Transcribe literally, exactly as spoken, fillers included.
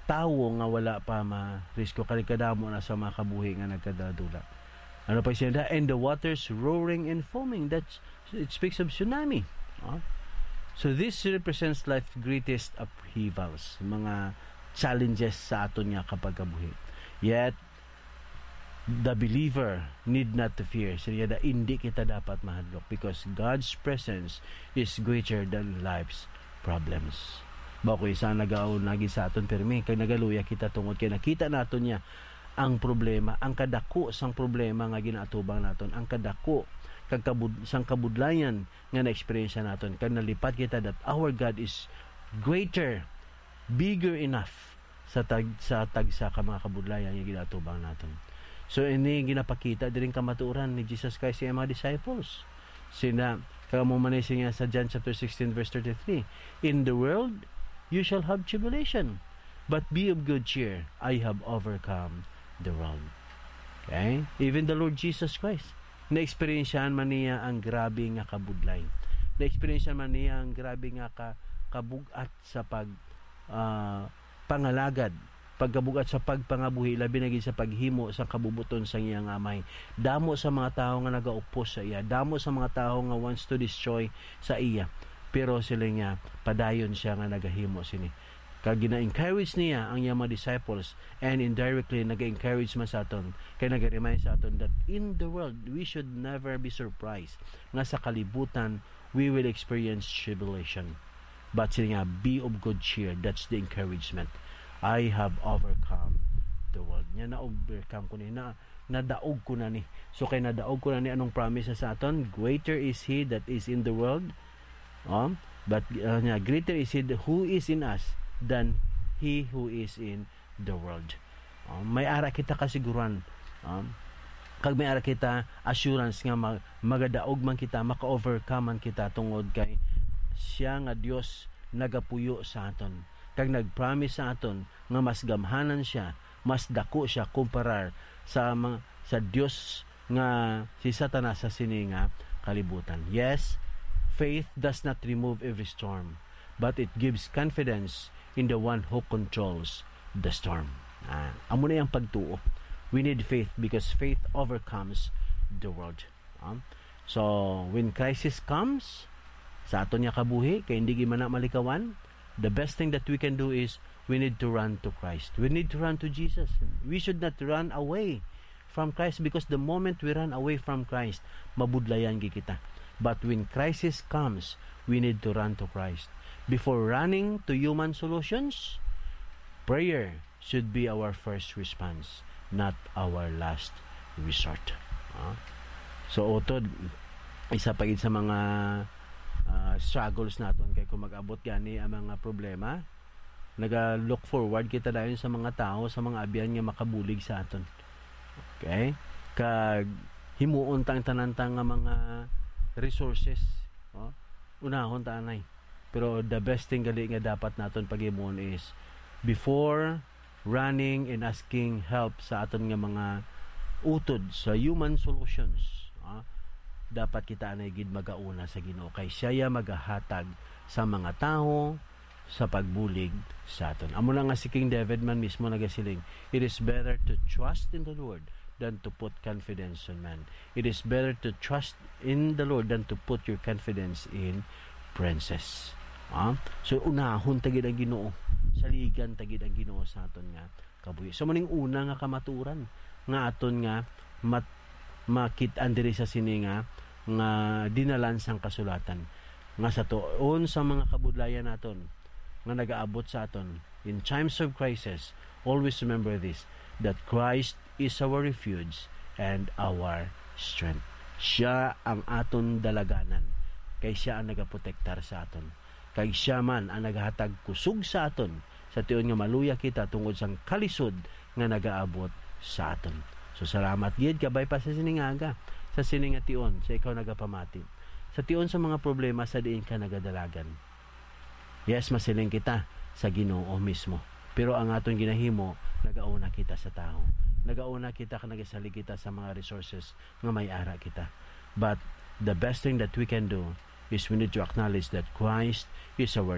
tawo nga wala pa ma-rescue, kay kadamo na sa mga kabuhi nga nagkadaladula. Ano pa siya da? "And the waters roaring and foaming." That's, it speaks of tsunami. Ah? So this represents life's greatest upheavals, mga challenges sa aton nga kapagkabuhi. Yet, the believer need not to fear. Siya da, hindi kita dapat mahadlok because God's presence is greater than life's problems. Ba ko isa nagaon lagi sa aton pirmi, kay nagaluya kita tungod kay nakita naton niya ang problema, ang kadako sang problema nga ginaatubang naton, ang kadako kag kabud-, sang kabudlayan nga naeksperyensya naton, kag nalipat kita that our God is greater, bigger enough sa tag-, sa tagsa ka mga kabudlayan nga ginaatubang naton. So, ini ginapakita diri ang kamatuoran ni Jesus Christ sa iyang mga disciples. Sina, kamo man ni siya sa John chapter sixteen, verse thirty-three, "In the world, you shall have tribulation, but be of good cheer. I have overcome the world." Okay? Even the Lord Jesus Christ, na-eksperyensyahan man niya ang grabe nga kabudlay. Na-eksperyensyahan man niya ang grabe nga ka-, kabugat sa pag, ah, pangalagad, pagkabugat sa pagpangabuhi, labi na gid sa paghimo sa kabubuton sa iyang amay. Damo sa mga tawo nga nagaupos sa iya, damo sa mga tawo nga wants to destroy sa iya. Pero sila niya, padayon siya nga nagahimo sini. Kag gina-encourage niya ang iyang mga disciples, and indirectly, nag-encourage man sa aton, kay nag-remind sa aton that in the world, we should never be surprised nga sa kalibutan, we will experience tribulation. But siya nga, "Be of good cheer." That's the encouragement. "I have overcome the world." Nya, na-overcome ko ni, na, nadaog ko na ni. So, kay nadaog ko na ni, anong promise sa aton? "Greater is he that is in the world." Um, but, uh, nya, "Greater is he who is in us than he who is in the world." Um, may ara kita kasiguran. Um, kag may ara kita assurance nga mag-, magadaog man kita, maka-overcome man kita tungod kay siya nga Dios nagapuyo sa aton. Kag nag-promise sa aton nga mas gamhanan siya, mas dako siya kumparar sa mga, sa Dios nga si Satanas sa sini nga kalibutan. Yes, faith does not remove every storm, but it gives confidence in the one who controls the storm. Ah, amo na yung pagtuo. We need faith because faith overcomes the world. Ah, so, when crisis comes sa aton nga kabuhi, kay hindi gid man na malikawan, the best thing that we can do is we need to run to Christ. We need to run to Jesus. We should not run away from Christ, because the moment we run away from Christ, mabudlayan gid kita. But when crisis comes, we need to run to Christ. Before running to human solutions, prayer should be our first response, not our last resort. Ah? So, utod, isa pa gid sa mga, ah, struggles naton kay kung mag-abot gani ang mga problema, naga-look forward kita dayon sa mga tawo, sa mga abyan nga makabulig sa aton. Okay? Kag himuon ta ang tanan ta nga mga resources, oh, unahon ta anay. Pero the best thing gali nga dapat naton paghimuon is, before running and asking help sa aton nga mga utod, sa human solutions, ah, dapat kita anay gid magauna sa Ginoo, kay siya ya magahatag sa mga tawo sa pagbulig sa aton. Amo na nga si King David man mismo nagasiling, "It is better to trust in the Lord than to put confidence in man." It is better to trust in the Lord than to put your confidence in princes. Ah? So, unahon ta gid ang Ginoo. Saligan ta gid ang Ginoo sa aton nga kabuhi. So, maning una nga kamaturan nga aton nga mat-, makit-an diri sa sini nga, nga dinalan sang kasulatan, nga sa tuon sa mga kabudlayan naton nga nagaabot sa aton in times of crisis, always remember this, that Christ is our refuge and our strength. Siya ang aton dalaganan, kay siya ang nagaprotektar sa aton. Kag siya man ang naghatag kusog sa aton, sa tion nga maluya kita tungod sang kalisod nga nagaabot sa aton. So, salamat gid, kabay pa sa sining aga, sa sining nga tion, sa ikaw nagapamati, sa tion sa mga problema sa diin ka nagadalagan. Yes, masiling kita sa Ginoo mismo. Pero ang aton ginahimo, nagauna kita sa tawo. Nagauna kita kag nagasalig kita sa mga resources nga may ara kita. But the best thing that we can do is we need to acknowledge that Christ is our